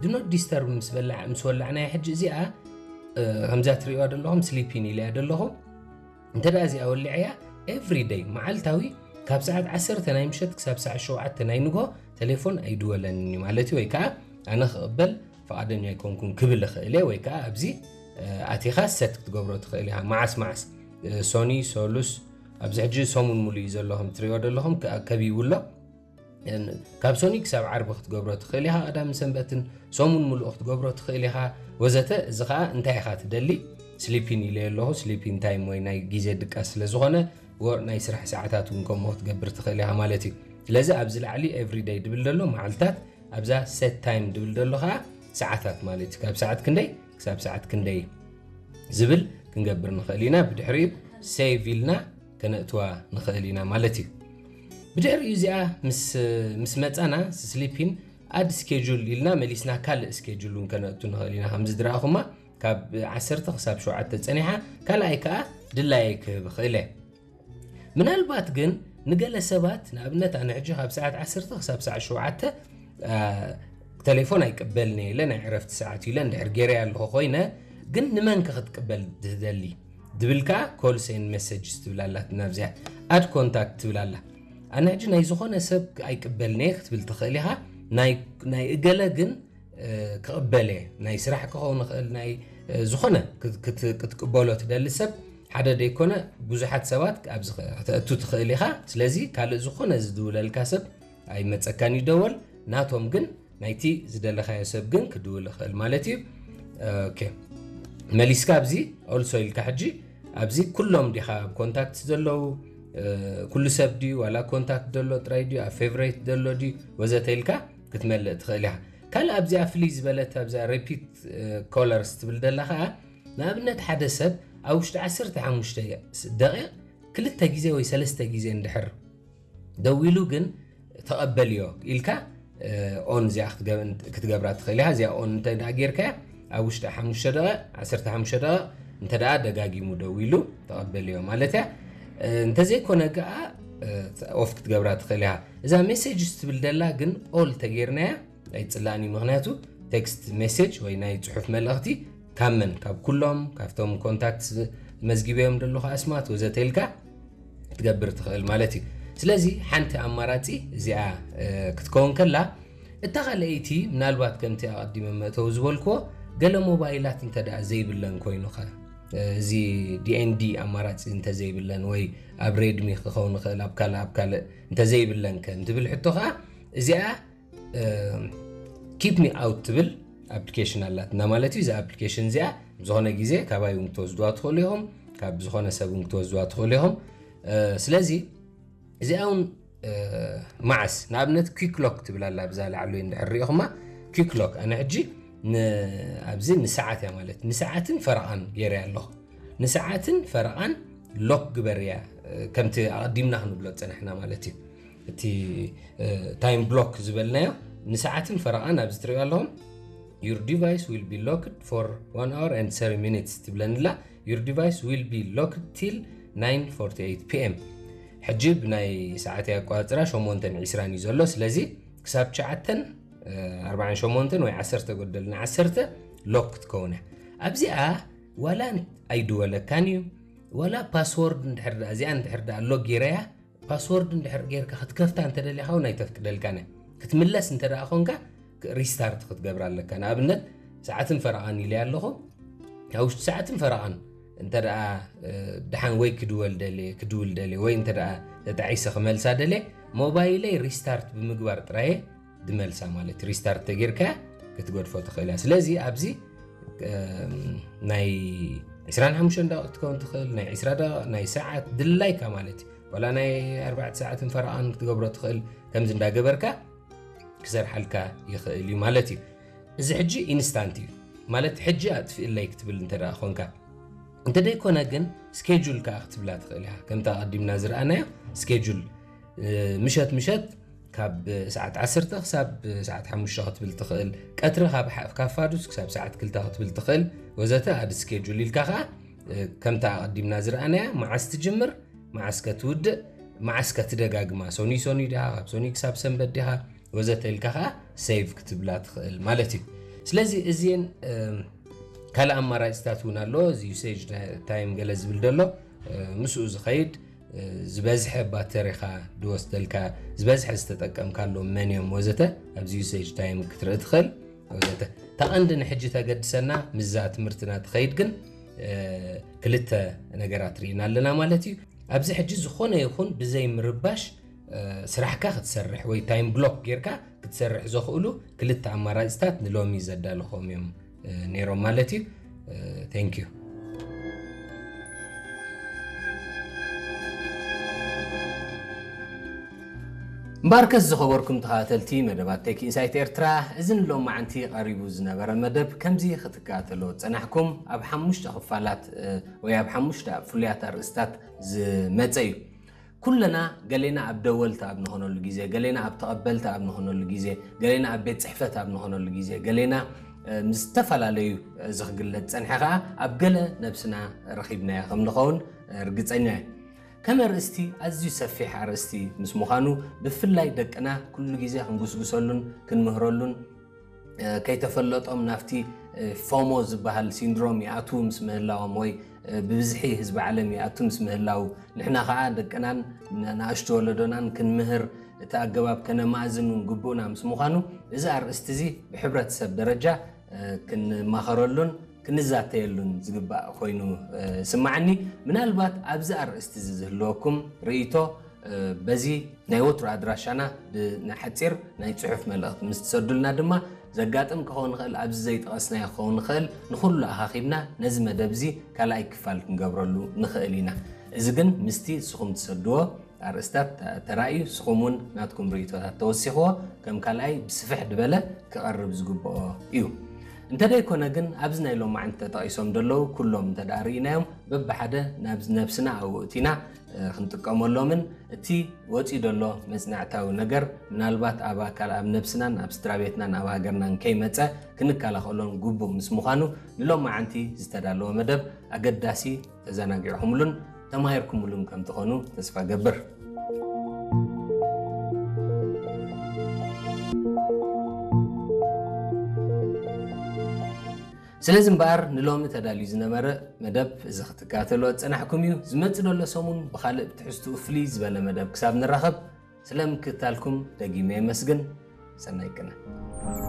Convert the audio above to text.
Do not disturb ምስ በላዕ ምስ ወላዕናያ ሕጂ እዚኣ ከምዛ ትሪእዋ ዘለኹም sleep in ኢለያ ዘለኹ። እንተ ደኣ እዚኣ ወሊዐያ every day መዓልታዊ ካብ ሰዓት ዓሰርተ ናይ ምሸት ክሳብ ሰዓት ሸውዓተ ናይ ንግሆ ቴሌፎን ኣይድወለንን እዩ ማለት እዩ። ወይ ከዓ ኣነ ክቕበል ፍቓደኛ ኣይኮንኩን ክብል እኽእል እየ። ወይ ከዓ ኣብዚ ኣቲኻ set ክትገብሮ ትኽእል ኢኻ። መዓስ መዓስ ሶኒ፣ ሶሉስ፣ ኣብዚ ሕጂ ሰሙን ሙሉ እዩ ዘሎ ከም ትሪእዎ ዘለኹም ከቢቡ ኣሎ። ካብ ሶኒ ክሳብ ዓርቢ ክትገብሮ ትኽእል ኢኻ። ቀዳምን ሰንበትን ሰሙን ሙሉእ ክትገብሮ ትኽእል ኢኻ ወዘተ። እዚ ኸዓ እንታይ ኢኻ ትደሊ? sleep in ኢለ ኣለኹ። sleeping time ወይ ናይ ግዜ ድቃስ ስለ ዝኾነ ወር ናይ ስራሕ ሰዓታት እውን ከምኡ ክትገብር ትኽእል ኢኻ ማለት እዩ። ስለዚ ኣብዚ ላዕሊ every day ድብል ዘሎ መዓልታት፣ ኣብዛ set time ድብል ዘሎ ኸዓ ሰዓታት ማለት እዩ። ካብ ሰዓት ክንደይ ክሳብ ሰዓት ክንደይ ዝብል ክንገብር ንኽእል ኢና። ብድሕሪኡ save ኢልና ከነእትዋ ንኽእል ኢና ማለት እዩ። ብድሕሪኡ እዚኣ ምስ መፃና sleeping add schedule ኢልና መሊስና ካልእ schedule እውን ከነእቱ ንኽእል ኢና። ከምዚ ዝረኣኹማ ካብ ዓሰርተ ክሳብ ሸውዓተ ፀኒሓ ካልኣይ ከዓ ድላየ ክህብ ይኽእል እየ። ምናልባት ግን ንገለ ሰባት ንኣብነት ኣነ ሕጂ ካብ ሰዓት ዓሰርተ ክሳብ ሰዓት ሸውዓተ ቴሌፎን ኣይቅበልን እየ ኢለ ናይ ዕረፍቲ ሰዓት ኢለ እንድሕር ገይረ ኣለኹ ኮይነ ግን ንመንከ ክትቅበል ትደሊ ድብል ከዓ calls and messages ትብል ኣላት ናብዚኣ add contact ትብል ኣላ። ኣነ ሕጂ ናይ ዝኾነ ሰብ ኣይቅበልን እየ ክትብል ትኽእል ኢኻ። ናይ እገለ ግን ክቕበል እየ። ናይ ስራሕ ክኸውን ይኽእል ናይ ዝኾነ ክትቅበሎ ትደሊ ሰብ ሓደ ደይኮነ ብዙሓት ሰባት ኣብዚ ከተእቱ ትኽእል ኢኻ። ስለዚ ካልእ ዝኾነ ዝድውለልካ ሰብ ኣይመፀካን ይደወል ናቶም ግን ናይቲ ዝደለኻዮ ሰብ ግን ክድውል ይኽእል ማለት እዩ። መሊስካ ኣብዚ also ኢልካ ሕጂ ኣብዚ ኩሎም ዲኻ ኣብ ኮንታክት ዘለዉ ኩሉ ሰብ ድዩ ዋላ ኮንታክት ዘሎ ጥራይ ድዩ ኣብ ፌቨሬት ዘሎ ድዩ ወዘተ ኢልካ ክትመልእ ትኽእል ኢኻ። ካልእ ኣብዚኣ ፍልይ ዝበለት ኣብዛ ሪፒት ኮለርስ ትብል ደላ ከዓ ንኣብነት ሓደ ሰብ ኣብ ውሽጢ ዓሰርተ ሓሙሽተ ደቂቕ ክልተ ግዜ ወይ ሰለስተ ግዜ እንድሕር ደዊሉ ግን ተቐበልዮ ኢልካ on እዚኣ ክትገብራ ትኽእል ኢኻ። እዚኣ on እንተ ደኣ ጌርካያ ኣብ ውሽጢ ሓሙሽተ ደቂቕ ዓሰርተ ሓሙሽተ ደቂቕ እንተ ደኣ ደጋጊሙ ደዊሉ ተቐበልዮ ማለት እያ። እንተዘይኮነ ከዓ ኦፍ ክትገብራ ትኽእል ኢኻ። እዛ ሜሴጅ ትብል ደላ ግን all ተጌርናያ ኣይፅላእን እዩ። ምክንያቱ ቴክስት ሜሴጅ ወይ ናይ ፅሑፍ መልእኽቲ ካብ መን ካብ ኩሎም ካብቶም ኮንታክት መዝጊበዮም ዘለኹ ኣስማት ወዘተ ኢልካ ክትገብር ትኽእል ማለት እዩ። ስለዚ ሓንቲ ኣማራፂ እዚኣ ክትከውን ከላ እታ ካልኣይቲ ምናልባት ከምቲ ኣቐዲመ መእተዊ ዝበልክዎ ገለ ሞባይላት እንተ ደኣ ዘይብለን ኮይኑኸ እዚ ዲኤንዲ ኣማራፂ እንተዘይብለን ወይ ኣብ ሬድሚ ክኸውን ይኽእል ኣብ ካልእ ኣብ ካልእ እንተዘይብለን ከ እንትብል ሕቶ ከዓ እዚኣ keep me out ትብል ኣፕሊኬሽን ኣላትና ማለት እዩ። እዛ ኣፕሊኬሽን እዚኣ ዝኾነ ግዜ ካባይ እውን ክትወስድዋ ትኽእሉ ኢኹም፣ ካብ ዝኾነ ሰብ እውን ክትወስድዋ ትኽእሉ ኢኹም። ስለዚ እዚኣ እውን መዓስ ንኣብነት quick lock ትብል ኣላ ብዛ ላዕሉ እንድሕር ሪኢኹማ quick lock ኣነ ሕጂ ኣብዚ ንሰዓት እያ ማለት ንሰዓትን ፈረቓን ገይረ ኣለኹ። ንሰዓትን ፈረቓን ሎክ ግበር እያ ከምቲ ኣቐዲምና ክንብሎ ዝፀናሕና ማለት እዩ። እቲ ታይም ብሎክ ዝበልናዮ ንሰዓትን ፈረቓን ኣብዚ ትሪኦ ኣለኹም your device will be locked for one hour and thirty minutes ትብለንላ። your device will be locked till nine forty-eight ፒ ኤም። ሕጂ ብናይ ሰዓት ኣቋፅራ ሸሞንተን ዒስራን እዩ ዘሎ። ስለዚ ክሳብ ትሽዓተን ኣርባዓን ሸሞንተን ወይ ዓሰርተ ጎደል ንዓሰርተ ሎክ ክትከውን እያ። ኣብዚኣ ዋላ ኣይድወለካን እዩ ዋላ ፓስወርድ እንድሕር ደኣ እዚኣ እንድሕር ደኣ ሎክ ጌረያ ፓስወርድ እንድሕር ጌርካ ክትከፍታ እንተደሊኻ እውን ኣይተፍቅደልካን እያ። ክትምለስ እንተ ደኣ ኮንካ ሪስታርት ክትገብር ኣለካ። ንኣብነት ሰዓትን ፈረቓን ኢለ ኣለኹ ኣብ ውሽጢ ሰዓትን ፈረቓን እንተ ደኣ ደሓን ወይ ክድወል ደልየ ክድውል ደልየ ወይ እንተ ደኣ ተጣዒሰ ክመልሳ ደልየ ሞባይለይ ሪስታርት ብምግባር ጥራየ ድመልሳ ማለት ሪስታርት ተጌርካ ክትገድፎ ትኽእል እያ። ስለዚ ኣብዚ ናይ ዕስራን ሓሙሽተን ደቂቕ ክትከውን ትኽእል ናይ ዕስራ ደቂቕ ናይ ሰዓት ድላይካ ማለት እዩ። ዋላ ናይ ኣርባዕተ ሰዓትን ፈረቓን ክትገብሮ ትኽእል ከምዚ እንዳገበርካ ክሰርሓልካ ይኽእል እዩ ማለት እዩ። እዚ ሕጂ ኢንስታንት እዩ ማለት ሕጂ ኣጥፍእለይ ክትብል እንተ ደኣ ኾንካ እንተደይኮነ ግን ስኬጁል ከዓ ክትብላ ትኽእል ኢኻ። ከምቲ ኣቐዲምና ዝረኣናዮ ስኬጁል ምሸት ምሸት ካብ ሰዓት ዓሰርተ ክሳብ ሰዓት ሓሙሽተ ክትብል ትኽእል፣ ቀትሪ ካብ ሓ- ካብ ፋዱስ ክሳብ ሰዓት ክልተ ክትብል ትኽእል ወዘተ ኣድ ስኬጁል ኢልካ ከዓ ከምታ ኣቐዲምና ዝረኣናያ መዓስ ትጅምር መዓስ ከትውድእ መዓስ ከትደጋግማ ሶኒ ሶኒ ዲኻ ካብ ሶኒ ክሳብ ሰንበት ዲኻ ወዘተ ኢልካ ከዓ ሴቭ ክትብላ ትኽእል ማለት እዩ። ስለዚ እዚን ካልእ ኣማራፅታት እውን ኣሎ። እዚ ዩሴጅ ታይም ገለ ዝብል ዘሎ ምስኡ ዝኸይድ ዝበዝሐ ባተሪኻ ድወስደልካ፣ ዝበዝሐ ዝተጠቀምካሎም መን እዮም ወዘተ ኣብዚ ዩሴጅ ታይም ክትርኢ ትኽእል ወዘተ። እታ ቀንዲ ንሕጂ ተገድሰና ምስዛ ትምህርትና ትኸይድ ግን ክልተ ነገራት ርኢና ኣለና ማለት እዩ። ኣብዚ ሕጂ ዝኾነ ይኹን ብዘይ ምርባሽ ስራሕካ ክትሰርሕ ወይ ታይም ብሎክ ጌርካ ክትሰርሕ ዘኽእሉ ክልተ ኣማራፅታት ንሎሚ ዘዳለኾም እዮም ነይሮም ማለት እዩ። Thank you። እምበኣርከስ ዝኸበርኩም ተኸታተልቲ መደባት ቴክ ኢንሳይት ኤርትራ፣ እዚ ንሎማዓንቲ ቀሪቡ ዝነበረ መደብ ከምዚ ክትከታተሎ ዝጸናሕኩም ኣብ ሓሙሽተ ክፋላት ወይ ኣብ ሓሙሽተ ፍሉያት ኣርእስታት ዝመጸ እዩ። ኩለና ገሌና ኣብ ደወልቲ ኣብ ንኾነሉ ግዜ፣ ገሌና ኣብ ተቐበልቲ ኣብ ንኾነሉ ግዜ፣ ገሌና ኣብ ቤት ጽሕፈት ኣብ ንኾነሉ ግዜ፣ ገሌና ምስ ዝተፈላለዩ እዚ ክግለጽ ጸንሐ ከኣ ኣብ ገለ ነብስና ረኺብናዮ ከም ንኸውን ርግጸኛ እየ። ከም ኣርእስቲ ኣዝዩ ሰፊሕ ኣርእስቲ ምስ ምዃኑ ብፍላይ ደቅና ኩሉ ግዜ ክንጉስጉሰሉን ክንምህረሉን ከይተፈለጦም ናብቲ ፎሞ ዝበሃል ሲንድሮም ይኣትዉ ምስ ምህላዎም ወይ ብብዝሒ ህዝቢ ዓለም ይኣቱ ምስ ምህላው ንሕና ከዓ ደቅናን ንኣሽቱ ወለዶናን ክንምህር እቲ ኣገባብ ከነማእዝን እውን ግቡእና ምስ ምዃኑ እዚ ኣርእስቲ እዚ ብሕብረተሰብ ደረጃ ክንማኸረሉን ክንዛተየሉን ዝግባእ ኮይኑ ስማዓኒ። ምናልባት ኣብዚ ኣርእስቲ እዚ ዝህልወኩም ርእይቶ በዚ ናይ ወትሩ ኣድራሻና ብናይ ሓፂር ናይ ፅሑፍ መልእኽቲ ምስ ትሰዱልና ድማ ዘጋጥም ክኸውን ይኽእል፣ ኣብዚ ዘይጠቐስናዮ ክኸውን ይኽእል። ንኹሉ ኣኻኺብና ነዚ መደብ እዚ ካልኣይ ክፋል ክንገብረሉ ንኽእል ኢና። እዚ ግን ምስቲ ንስኹም ትሰድዎ ኣርእስታት ተራእዩ ንስኹም እውን ናትኩም ርእይቶታት ተወሲኽዎ ከም ካልኣይ ብስፍሕ ዝበለ ክቐርብ ዝግብኦ እዩ። እንተደይኮነ ግን ኣብዚ ናይ ሎማዓንቲ ተጠቒሶም ዘለዉ ኩሎም እንተ ደኣ ርኢናዮም በብሓደ ናብ ነብስና ኣውእቲና ክንጥቀመሎምን እቲ ወፂኡ ዘሎ መፅናዕታዊ ነገር ምናልባት ኣብ ኣካል ኣብ ነብስናን ኣብ ስድራ ቤትናን ኣብ ሃገርናን ከይመፀ ክንከላኸሎን ግቡእ ምስ ምዃኑ ንሎማዓንቲ ዝተዳለወ መደብ ኣገዳሲ ተዘናጊዕኹምሉን ተማሂርኩምሉን ከም ትኾኑ ተስፋ ገብር። ስለዚ እምበኣር ንሎሚ ተዳልዩ ዝነበረ መደብ እዚ ክትከታተልዎ ዝጸናሕኩም እዩ። ዝመጽእ ዘሎ ሰሙን ብኻልእ ብትሕዝትኡ ፍልይ ዝበለ መደብ ክሳብ ንራኸብ ስለ ምክትታልኩም ደጊመ የመስግን። ሰናይ ቅነ።